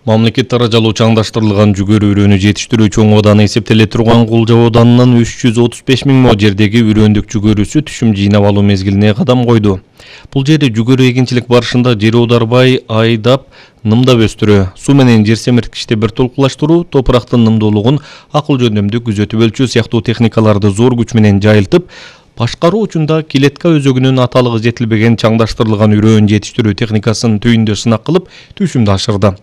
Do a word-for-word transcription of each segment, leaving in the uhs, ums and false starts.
Мамлекет таражалуу чаңдаштырылган жүгөрү үрөөнү жетиштирүү чоң ооданы эсептеле турган Кулжа ооданынын үч жүз отуз беш миң мо жердеги үрөөндүк жүгөрүсү түшүм жыйнап алуу мезгилине кадам койду. Бул жерде жүгөрү эгинчилик барышында жер оодарбай айдап, нымдап өстүрүү, суу менен жер семирткичте бир толкулаштыруу, топурактын нымдуулугун акыл жөндөмдүү күзөтүп өлчөө сыяктуу техникаларды зор күч менен жайылтып, башкаруу учунда Килетка өзөгүнүн аталыгы жетилбеген чаңдаштырылган үрөөн жетиштирүү техникасын түйүндө сынак кылып, түшүмдү ашырды.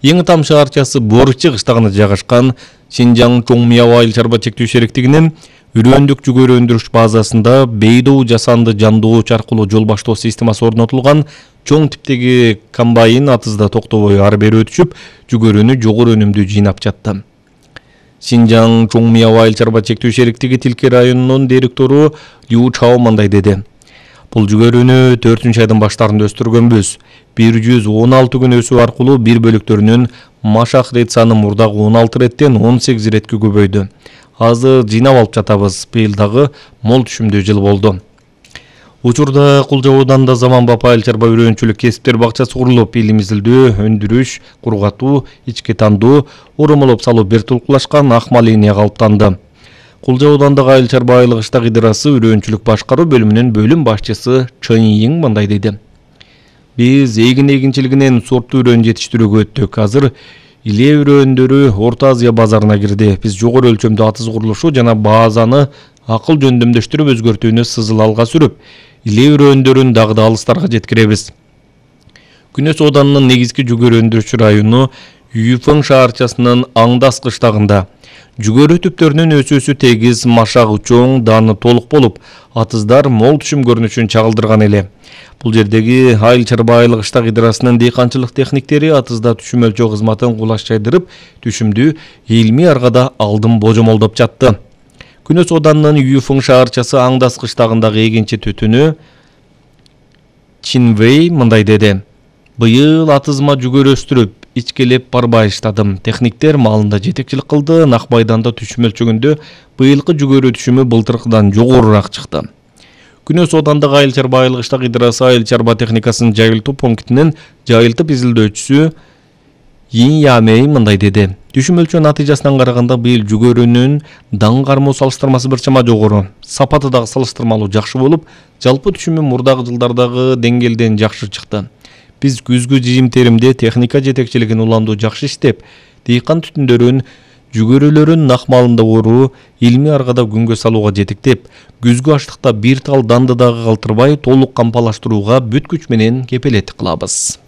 Эң там шаарчасы Борчы кыштагында жайгашкан Шинжаң Чоңмияу айыл чарба чектөө шериктигинин үрөөндүк жүгөрү өндүрүш базасында бейдоо жасанды жандооч аркылуу жол баштоо системасы орнотулган чоң типтеги комбайн атызда токтобой ары бери өтүшүп, жүгөрүнү жогору өнүмдүү жыйнап жатты. Шинжаң Чоңмияу айыл чарба чектөө шериктиги Тилке районунун директору Лю Чао мындай деди. Бул жүгөрүнү төртүнчү айдын баштарында өстүргөнбүз. бир жүз он алты күн өсүү аркылуу бир бөлүктөрүнүн машак рет саны мурдагы он алты реттен он сегиз иретке көбөйдү. Азыр жыйнап алып жатабыз. Быйыл дагы мол түшүмдүү жыл болду. Учурда Кулжа ооданында заманбап айыл чарба үрөөнчүлүк кесиптер бакчасы курулуп, илим изилдөө, өндүрүш, кургатуу, ички тандоо, оромолоп салуу бир толкулашкан акмал линия калыптанды. Кулжа ооданындагы айыл чарба айылык ыштак идырасы үрөөнчүлүк башкаруу бөлүмүнүн бөлүм башчысы Чын Йиң мындай деди. Биз эгин эгинчилигинен сорттуу үрөөн жетиштирүүгө өттүк. Азыр иле үрөөндөрү Орто Азия базарына кирди. Биз жогору өлчөмдүү атыз курулушу жана базаны акыл жөндөмдөштүрүп өзгөртүүнү сызыл алга сүрүп, иле үрөөндөрүн дагы да алыстарга жеткиребиз. Күнөс ооданынын негизги жүгөрү өндүрүүчү району Юйфeng шаарчасынын Аңдас кыштагында. Жүгөрү түптөрүнүн өсүүсү тегиз, машагы чоң, даны толук болуп, атыздар мол түшүм көрүнүшүн чагылдырган эле. Бул жердеги айыл чарба айылык ыштак идырасынын дыйканчылык техниктери атызда түшүм өлчөө кызматын кулаш жайдырып, түшүмдү илмий аргада алдын божомолдоп жатты. Күнөс ооданынын Юйфeng шаарчасы Аңдас кыштагындагы эгинчи түтүнү Чинвей мындай деди. Быйыл атызыма жүгөрү өстүрүп, ичкелеп барбай иштадым. Техниктер малында жетекчилик кылды. Нак майданда түшүм өлчөгөндө быйылкы жүгөрү түшүмү былтыркыдан жогорураак чыкты. Күнөс оодандагы айыл чарба айылык ыштак идырасы айыл чарба техникасын жайылтуу пунктинин жайылтып изилдөөчүсү Йин Ямей мындай деди. Түшүм өлчөө натыйжасынан караганда быйыл жүгөрүнүн даң кармоо салыштырмасы бир чама жогору. Сапаты дагы салыштырмалуу жакшы болуп, жалпы түшүмү мурдагы жылдардагы деңгээлден жакшы чыкты. Биз күзгү жыйым-теримде техника жетекчилигин уламдуу жакшы иштеп, дыйкан түтүндөрүн, жүгөрүлөрүн нак маалында оруу, илмий аргада күнгө салууга жетектеп, күзгү аштыкта бир тал данды дагы калтырбай толук кампалаштырууга бүт күч менен кепилеттик кылабыз.